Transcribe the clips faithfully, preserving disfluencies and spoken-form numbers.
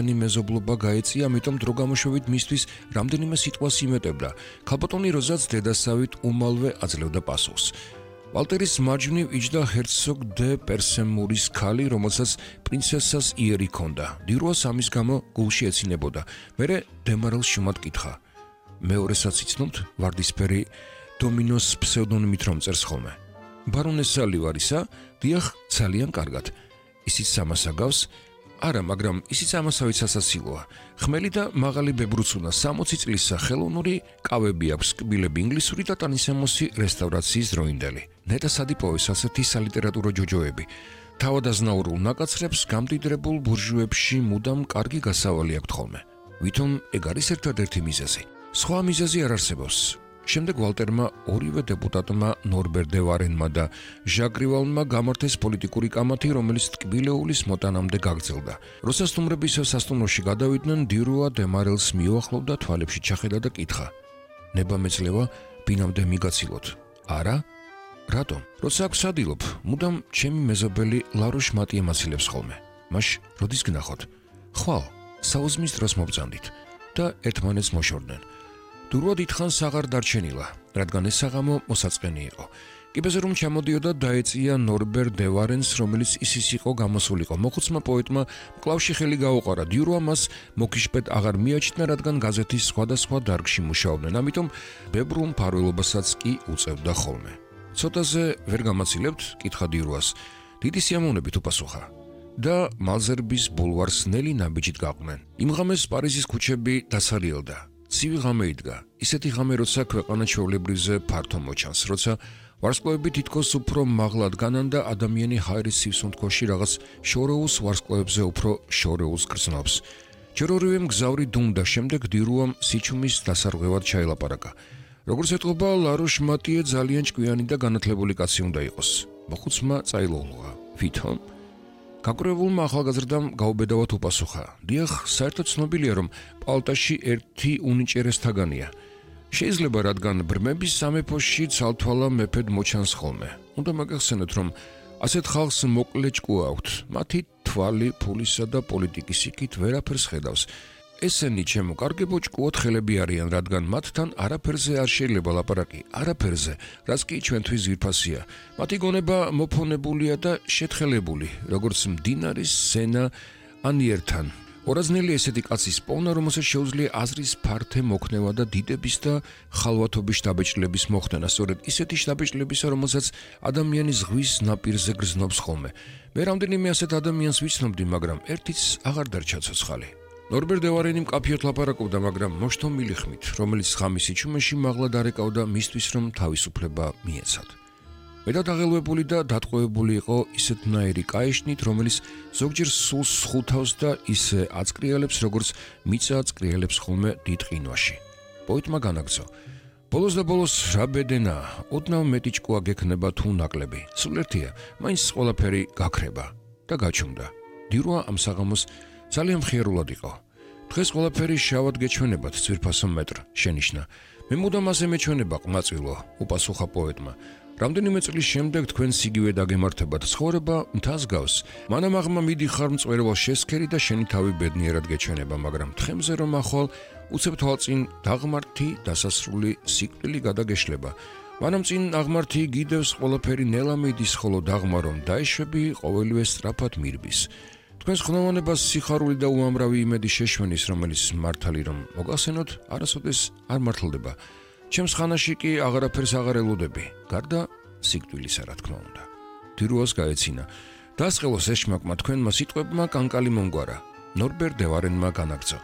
მეზობლობა გაეწია, ამიტომ დრო გამოშვებით მისთვის რამდენიმე სიტყვას იმეტებდა. ქალბატონი როზაც დედასავით უმალვე აძლევდა პასუხს. ვალტერის მარჯვნივ იჯდა ჰერცოგ დე პერსემურის ქალი, რომელსაც პრინცესას იერი ჰქონდა. დირუას ამის გამო გულში ეცინებოდა. მერე დემარელს შუმად კითხა. მეორესაც იცნობთ ვარდისფერი დომინოს ფსევდონიმით რომ წერს ხოლმე. ბარონესა ლივარისა, დიახ, ძალიან კარგად. ისიც ამას აგავს? არა, მაგრამ ისიც ამასავით სასაცილოა. ხმელი და მაღალი ბებრუცუნა, სამოცი წლისა, ხელოვნური კავები აქვს, კბილები ინგლისური და ტანისამოსი რესტავრაციის დროინდელი. ნეტა სადიპოვეს ასეთი სალიტერატურო ჯოჯოები. თავადაზნაურულ ნაკაცრებს გამდიდრებულ ბურჟუებში მუდამ კარგი გასავალი აქვთ ხოლმე. ვითომ ეგ არის ერთადერთი მიზეზი. სხვა მიზეზი არ არსებობს. შემდეგ ვალტერმა ორივე დეპუტატმა ნორბერ დე ვარენმა და ჟაკ რივალმა გამართეს პოლიტიკური კამათი, რომელიც ტკბილეულის მოტანამდე გაგრძელდა. როცა სტუმრების სასტუმროში გადავიდნენ, დირუა დემარელს მიუახლოვდა, თვალებში ჩახედა და კითხა. ნება მეძლევა, ბინამდე მიგაცილოთ. არა? რატომ? როცა აქ ვსადილობ, მუდამ ჩემი მეზობელი ლაროშ მატი ემაცილებს ხოლმე. მაშ როდის გნახოთ? ხვალ, საუზმის დროს მობრძანდით და ერთმანეთს მოშორდნენ. დურვა დიდხანს აღარ დარჩენილა, რადგან ეს საღამო მოსაწყენი იყო. კიბეზე რომ ჩამოდიოდა, დაეწია ნორბერ დე ვარენს, რომელიც ისის იყო გამოსულიყო. მოხუცმა პოეტმა მკლავში ხელი გაუყარა. დიურვა მას მოკიშპეთ აღარ მიაჩნდა, რადგან გაზეთის სხვადასხვა დარგში მუშაობდნენ, ამიტომ ბებრულ მფარველობასაც კი უწევდა ხოლმე. ცოტაზე ვერ გამაცილებთ? კითხა დიურვას. დიდი სიამოვნებით უპასუხა. და მალზერბის ბულვარს ნელი ნაბიჯით გაყვნენ. იმ ღამეს პარიზის ქუჩები დასარიელდა. ცივი ღამე იდგა. ისეთი ღამე, როცა ქვეყანა ჩვეულებრივზე ფართო მოჩანს, როცა ვარსკვლავები თითქოს უფრო მაღლად განან და ადამიანი ჰაერის სივსუნთქვაში რაღაც შორეულს ვარსკვლავებზე უფრო შორეულს გრძნობს. ჯერ ორივემ გზავრი დუმდა, შემდეგ დირუამ სიჩუმის დასარღვევად ჩაილაპარაკა. როგორც ეტყობა, ლაროშ მატიე ძალიან ჭკვიანი და განათლებული კაცი უნდა იყოს. მოხუცმა წაილოვლუა. ვითომ? გაკვრებულმა ახალგაზრდამ გაუბედავად უპასუხა. დიახ, საერთოდ ცნობილია, რომ პალტაში ერთი უნიჭერესთაგანია. შეიძლება, რადგან ბრმების სამეფოში ცალთვალა მეფედ მოჩანს ხოლმე. უნდა მაგახსენოთ, რომ ასეთ ხალხს მოკლე ჭკუა აქვთ. მათი თვალი ფულისა და პოლიტიკის იქით ვერაფერს ხედავს. ესენი ჩემო კარგებო ჭკუოდ ხელები არიან, რადგან მათთან არაფერზე არ შეიძლება ლაპარაკი, არაფერზე, რაც კი ჩვენთვის ძვირფასია. მათი გონება მოფონებულია და შეთხელებული, როგორც მდინარის სენა ანიერთან. ორაზნელი ესეთი კაცის პოვნა, რომელსაც შეუძლია აზრის ფართე მოქნევა და დიდების და ხალვათობის შთაბეჭდილების მოხდენა, სწორედ ისეთი შთაბეჭდილებისა, რომელსაც ადამიანი ზღვის ნაპირზე გრძნობს ხოლმე. მე რამდენიმე ასეთ ადამიანს ვიცნობდი, მაგრამ ერთიც აღარ დარჩა ცოცხალი. ნორბერ დე ვარენი მკაფიოდ ლაპარაკობდა, მაგრამ მოშთომილი ხმით, რომელიც ღამის სიჩუმეში მაღლა დარეკავდა მისთვის, რომ თავისუფლება მიეცათ. მეტად აღელვებული და დატყვევებული იყო ისეთნაირი კაეშნით, რომელიც ზოგჯერ სულს სხუთავს და ისე აწკრიალებს, როგორც მიწა აწკრიალებს ხოლმე დიდ ყინვაში. პოეტმა განაგრძო. ბოლოს და ბოლოს რა ბედენა, ოდნავ მეტი ჭკუა გექნება თუ ნაკლები. სულ ერთია, მაინც ყველაფერი გაქრება და გაჩუმდა. დირუა ამ საღამოს ძალიან მხიარულად იყო. დღეს ყველაფერი შავად გეჩვენებათ, ძვირფასო მეტრ, შენიშნა. მე მუდამ ასე მეჩვენება, ყმაწვილო, უპასუხა პოეტმა. რამდენიმე წლის შემდეგ თქვენ სიგივე დაგემართებათ, ცხოვრება მთას გავს. მანამ აღმა მიდიხარ მწვერვალ შესქერი და შენი თავი ბედნიერად გეჩვენება, მაგრამ თხემზე რომ ახვალ, უცებ თვალწინ დაღმართი დასასრული სიკვდილი გადაგეშლება. მანამ წინ აღმართი გიდევს ყველაფერი ნელა მიდის, ხოლო დაღმა რომ დაეშვები, ყოველივე სწრაფად მირბის. თქვენს ხნოვანებას სიხარული და უამრავი იმედი შეშვენის, რომელიც მართალი რომ მოგახსენოთ, არასოდეს არ მართლდება. ჩემს ხანაში კი აღარაფერს აღარ ელოდები, გარდა სიკვდილისა, რა თქმა უნდა. დირუას გაეცინა. დასყელოს ეშმაკმა თქვენმა სიტყვებმა კანკალი მომგვარა. ნორბერ დე ვარენმა განაგრძო.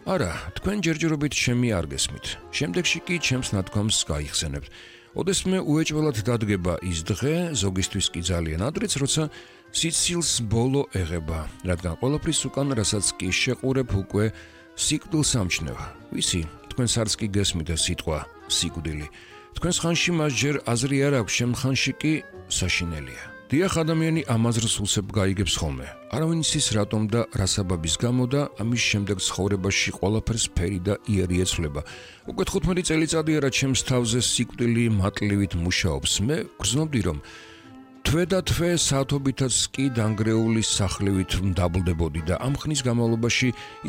არა, თქვენ ჯერჯერობით ჩემი არ გესმით. შემდეგში კი ჩემს ნათქვამს გაიხსენებთ. ოდესმე უეჭველად დადგება ის დღე, ზოგისთვის კი ძალიან ადრეც, როცა სიცილს ბოლო ეღება, რადგან ყველაფრის უკან, რასაც კი შეყურებ, უკვე სიკვდილს ამჩნევა. ვიცი, თქვენს არც კი გესმით ეს სიტყვა სიკვდილი. თქვენს ხანში მას ჯერ აზრი არ აქვს, შემ ხანში კი საშინელია. დიახ, ადამიანი ამაზრს უსებ გაიგებს ხოლმე. არავინ იცის რატომ და რა საბაბის გამო და ამის შემდეგ ცხოვრებაში ყველაფერს ფერი და იერი ეცვლება. უკვე თხუთმეტი წელიწადია, რა ჩემს თავზე სიკვდილი მატლივით მუშაობს. მე გრძნობდი, რომ თვე და თვე საათობითაც კი დანგრეული სახლივით დაბლდებოდი და ამ ხნის განმავლობაში